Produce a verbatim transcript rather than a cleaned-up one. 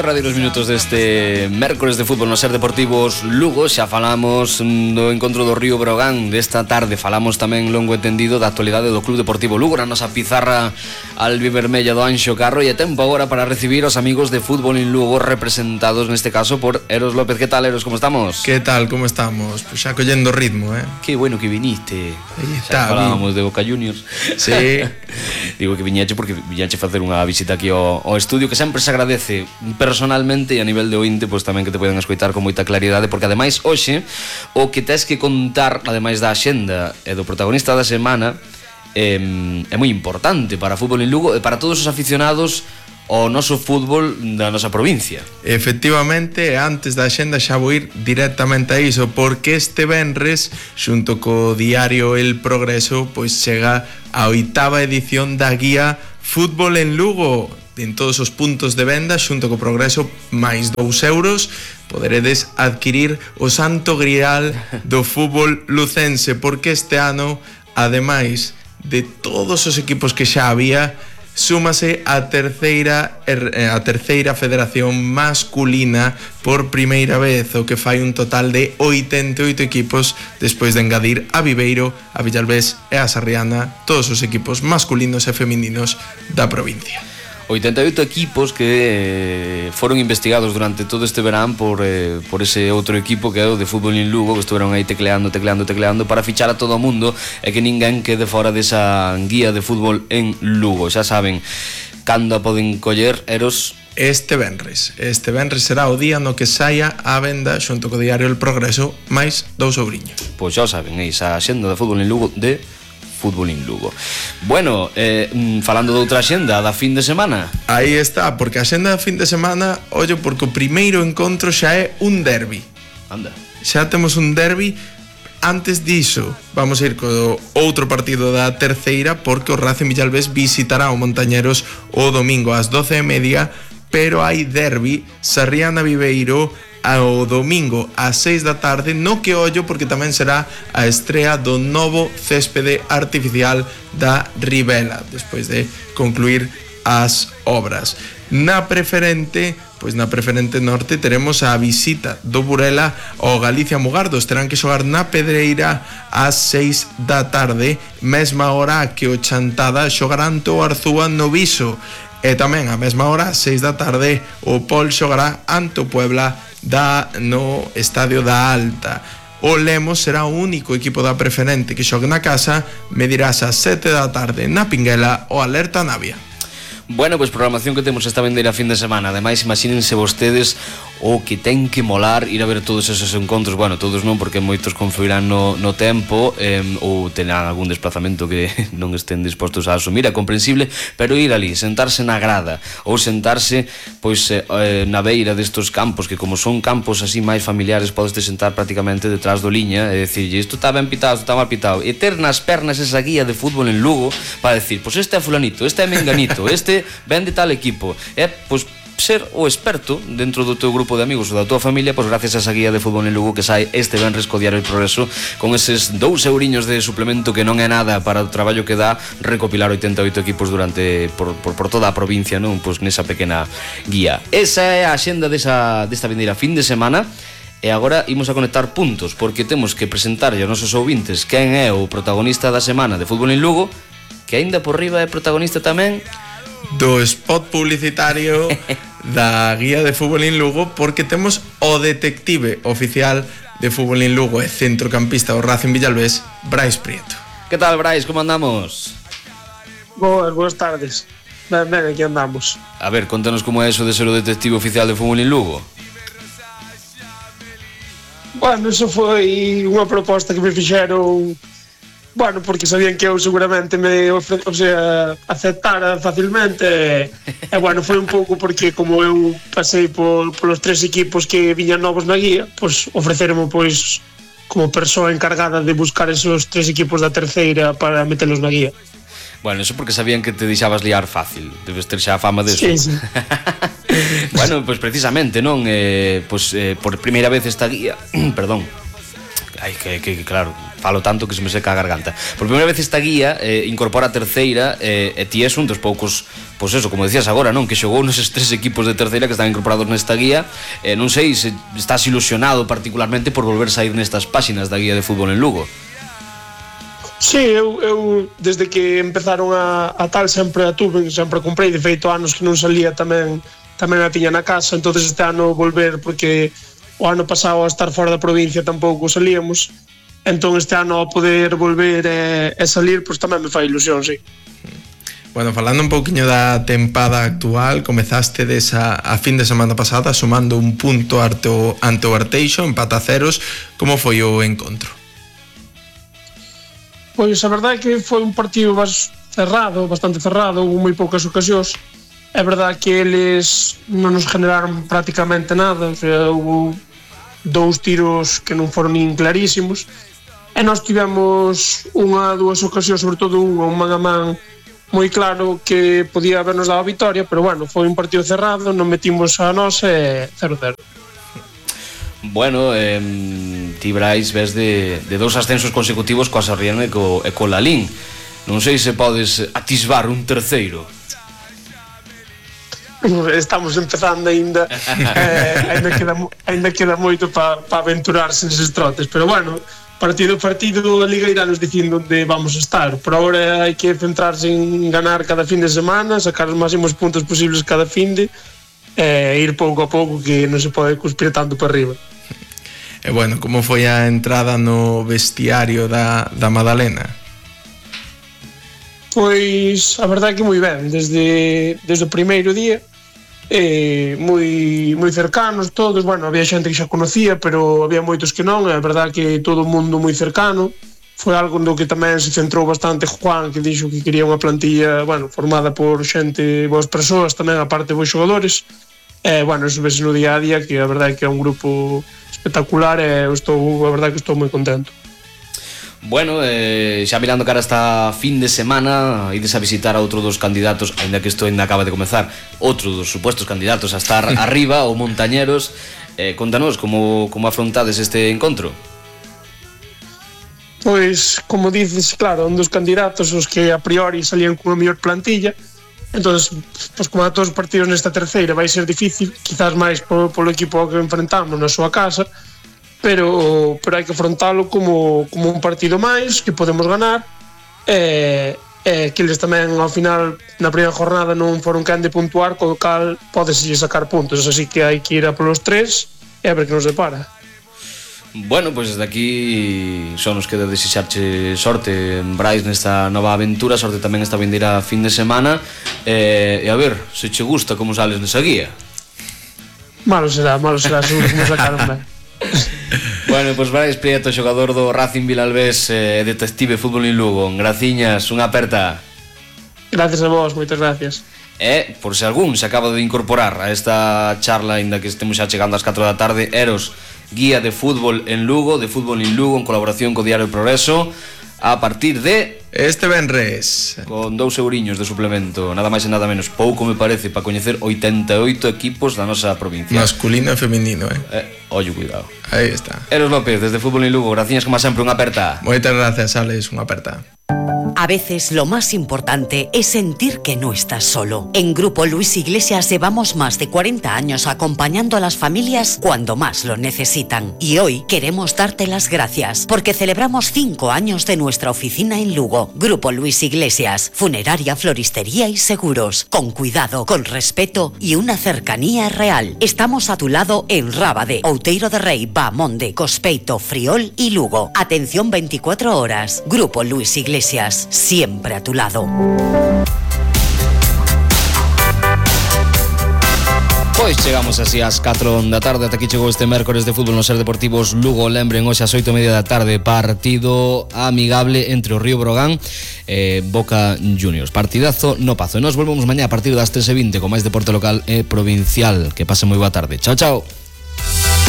derradeiros minutos deste mércores de fútbol no Ser Deportivos Lugo. Xa falamos do encontro do Río Breogán desta tarde. Falamos tamén longo entendido da actualidade do Club Deportivo Lugo na nosa pizarra albivermella do Anxo Carro. E é tempo agora para recibir os amigos de Fútbol en Lugo, representados neste caso por Eros López. Que tal, Eros, como estamos? Que tal, como estamos? Pois xa collendo ritmo, eh? Que bueno que viniste. Aí Xa está, falábamos de Boca Juniors. Sí. Digo que viñeche porque viñeche facer unha visita aquí ao, ao estudio, que sempre se agradece personalmente e a nivel de ointe, pois tamén que te poden escoitar con moita claridade, porque ademais hoxe o que tes que contar, ademais da axenda e do protagonista da semana, é, é moi importante para Fútbol en Lugo e para todos os aficionados ao noso fútbol da nosa provincia. Efectivamente, antes da axenda xa vou ir directamente a iso, porque este venres, xunto co diario El Progreso, pois chega a oitava edición da guía Fútbol en Lugo. En todos os puntos de venda, xunto co Progreso, máis dous euros, poderedes adquirir o santo grial do fútbol lucense, porque este ano, ademais de todos os equipos que xa había, súmase a terceira a terceira federación masculina por primeira vez, o que fai un total de oitenta e oito equipos, despois de engadir a Viveiro, a Villalbés e a Sarriana, todos os equipos masculinos e femininos da provincia. oitenta e oito equipos que foron investigados durante todo este verán por, eh, por ese outro equipo que é o de Fútbol en Lugo, que estuveron aí tecleando, tecleando, tecleando para fichar a todo o mundo e que ninguén quede fora desa guía de Fútbol en Lugo. Xa saben cando a poden coller, Eros. Este venres, este venres será o día no que saia a venda xunto co diario El Progreso máis dous ouriños. Pois xa saben, esa axenda de Fútbol en Lugo de Fútbol en Lugo. Bueno, eh, falando de outra axenda da fin de semana. Aí está, porque a axenda da fin de semana, ollo, porque o primeiro encontro xa é un derbi. Anda. Xa temos un derbi. Antes diso, vamos a ir co outro partido da terceira, porque o Racing Villalbés visitará o Montañeros o domingo ás doce e media, pero hai derbi Sarriana Viveiro ao domingo ás seis da tarde, no que ollo porque tamén será a estrea do novo céspede artificial da Ribela, despois de concluir as obras. Na preferente, pois na preferente norte teremos a visita do Burela ao Galicia Mugardos. Terán que xogar na Pedreira ás seis da tarde, mesma hora que o Chantada xogarán o Arzúa no Viso. E tamén a mesma hora, ás seis da tarde, o Pol xogará ante o Puebla da no Estadio da Alta. O Lemos será o único equipo da preferente que xogue na casa, medirás ás sete da tarde na Pinguela o Alerta Navia. Bueno, pois programación que temos esta vendeira fin de semana. Ademais, imagínense vostedes o que ten que molar ir a ver todos esos encontros. Bueno, todos non, porque moitos confluirán no, no tempo, eh, ou terán algún desplazamento que non estén dispostos a asumir, é comprensible, pero ir ali, sentarse na grada ou sentarse pois eh, na beira destos campos, que como son campos así máis familiares, podes te sentar prácticamente detrás do liña e decirlle, isto está ben pitado, isto está mal pitado, e ter nas pernas esa guía de fútbol en Lugo para decir, pois este é fulanito, este é menganito, este ven de tal equipo, é pois ser o experto dentro do teu grupo de amigos ou da tua familia, pois gracias a esa guía de Fútbol en Lugo que sai este venres co diario El Progreso, con eses dous euriños de suplemento que non é nada para o traballo que dá recopilar oitenta e oito equipos durante por, por, por toda a provincia, non? Pois nesa pequena guía. Esa é a axenda desa, desta vindeira fin de semana. E agora imos a conectar puntos, porque temos que presentarlle aos nosos ouvintes quen é o protagonista da semana de Fútbol en Lugo, que aínda por riba é protagonista tamén do spot publicitario da guía de Fútbol en Lugo, porque temos o detective oficial de Fútbol en Lugo e centrocampista do Racing Villalbés, Brais Prieto. Que tal, Brais, como andamos? Boas, boas tardes. Ben, ben, aquí andamos. A ver, contanos como é eso de ser o detective oficial de Fútbol en Lugo. Bueno, eso foi unha proposta que me fixeron, bueno, porque sabían que eu seguramente me ofre, o sea, aceptara facilmente e, e bueno, foi un pouco porque como eu pasei por, por os tres equipos que viñan novos na guía, pois ofreceronme pois como persoa encargada de buscar esos tres equipos da terceira para metelos na guía. Bueno, eso porque sabían que te deixabas liar fácil. Debes ter xa a fama de eso. Sí, sí. Bueno, pois pues precisamente, non? Eh, pois, pues, eh, por primeira vez esta guía, perdón, Ai, que, que, claro, falo tanto que se me seca a garganta. Por primeira vez esta guía eh, incorpora a terceira eh, e ti és un dos poucos, pois eso, como decías agora, non? Que xogou neses tres equipos de terceira que están incorporados nesta guía. eh, Non sei se estás ilusionado particularmente por volver sair nestas páxinas da guía de fútbol en Lugo. Sí, eu, eu desde que empezaron a, a tal sempre a tuve, sempre a comprei, de feito anos que non salía tamén tamén a tiña na casa, entonces este ano volver porque o ano pasado a estar fora da provincia tampouco salíamos, entón este ano a poder volver e, e salir, pois tamén me fai ilusión, sí. Bueno, falando un pouquiño da tempada actual, comezaste desa a fin de semana pasada sumando un punto ante o, ante o Arteixo, empate a ceros. Como foi o encontro? Pois a verdade é que foi un partido bas cerrado, bastante cerrado, houve moi poucas ocasións. É verdade que eles non nos generaron prácticamente nada, o sea, houve dous tiros que non foron nin clarísimos, e nós tivemos unha, dúas ocasións, sobre todo unha, un man a man moi claro que podía habernos dado a vitoria, pero bueno, foi un partido cerrado, non metimos a nós e cero cero. Bueno, eh, ti Brais ves de, de dous ascensos consecutivos coa Sarriana e co, e co Lalín. Non sei se podes atisbar un terceiro. Estamos empezando aínda, eh, aínda queda, aínda queda moito para pa aventurarse neses trotes, pero bueno, partido a partido a Liga irá nos dicindo onde vamos a estar. Por agora hai que centrarse en ganar cada fin de semana, sacar os máximos puntos posibles cada fin de e eh, ir pouco a pouco, que non se pode cuspir tanto para arriba. E bueno, como foi a entrada no vestiario da, da Madalena? Pois a verdade é que moi ben, desde, desde o primeiro día, eh, moi, moi cercanos todos. Bueno, había xente que xa conocía, pero había moitos que non, é verdade que todo o mundo moi cercano. Foi algo no que tamén se centrou bastante Juan, que dixo que quería unha plantilla, bueno, formada por xente, boas persoas tamén, aparte de bons xogadores. E, bueno, eso vese no día a día, que a verdade é que é un grupo espectacular e eu estou, a verdade que estou moi contento. Bueno, eh, xa mirando cara esta fin de semana, ides a visitar a outro dos candidatos, ainda que isto ainda acaba de comezar, outro dos supuestos candidatos a estar arriba, o Montañeros. eh, Contanos como, como afrontades este encontro. Pois, como dices, claro, un dos candidatos os que a priori salían cunha mellor plantilla. Entonces, pois como a todos os partidos nesta terceira vai ser difícil, quizás máis polo, polo equipo que enfrentamos na súa casa, pero pero hai que afrontalo como, como un partido máis que podemos ganar, e, e que eles tamén ao final na primeira jornada non foron quen de puntuar, co cal podese sacar puntos, así que hai que ir a polos tres e a ver que nos depara. Bueno, pois desde aquí só nos queda desexarche sorte, Brais, nesta nova aventura, sorte tamén esta vindeira fin de semana, e, e a ver se che gusta como sales nesa guía. Malo será, malo será, seguro que nos sacaron ben. Bueno, pois Brais Prieto, xogador do Racing Vilalbés, eh, detective fútbol en Lugo. Graciñas, unha aperta. Gracias a vos, moitas gracias. E, por se algún se acaba de incorporar a esta charla, ainda que estemos xa chegando ás catro da tarde, Eros, guía de fútbol en Lugo, de fútbol en Lugo, en colaboración co Diario Progreso, a partir de... Este venres. Con dous euriños de suplemento, nada máis e nada menos. Pouco me parece para coñecer oitenta e oito equipos da nosa provincia. Masculino e feminino, eh? eh Ollo, cuidado. Aí está. Eros López, desde Fútbol en Lugo, graciñas como sempre, unha aperta. Moitas gracias, Alex, unha aperta. A veces lo más importante es sentir que no estás solo. En Grupo Luis Iglesias llevamos más de cuarenta años acompañando a las familias cuando más lo necesitan. Y hoy queremos darte las gracias porque celebramos cinco años de nuestra oficina en Lugo. Grupo Luis Iglesias, funeraria, floristería y seguros. Con cuidado, con respeto y una cercanía real. Estamos a tu lado en Rábade, Outeiro de Rei, Bamonde, Cospeito, Friol y Lugo. Atención veinticuatro horas. Grupo Luis Iglesias, siempre a tu lado. Pois chegamos así ás catro da tarde. Ata aquí chegou este mércores de fútbol no Ser Deportivos Lugo. Lembren, hoxe ás oito e media da tarde, partido amigable entre o Río Brogán e Boca Juniors. Partidazo no Pazo. E nos volvemos mañá a partir das tres e vinte con máis deporte local e provincial. Que pase moi boa tarde. Chao, chao.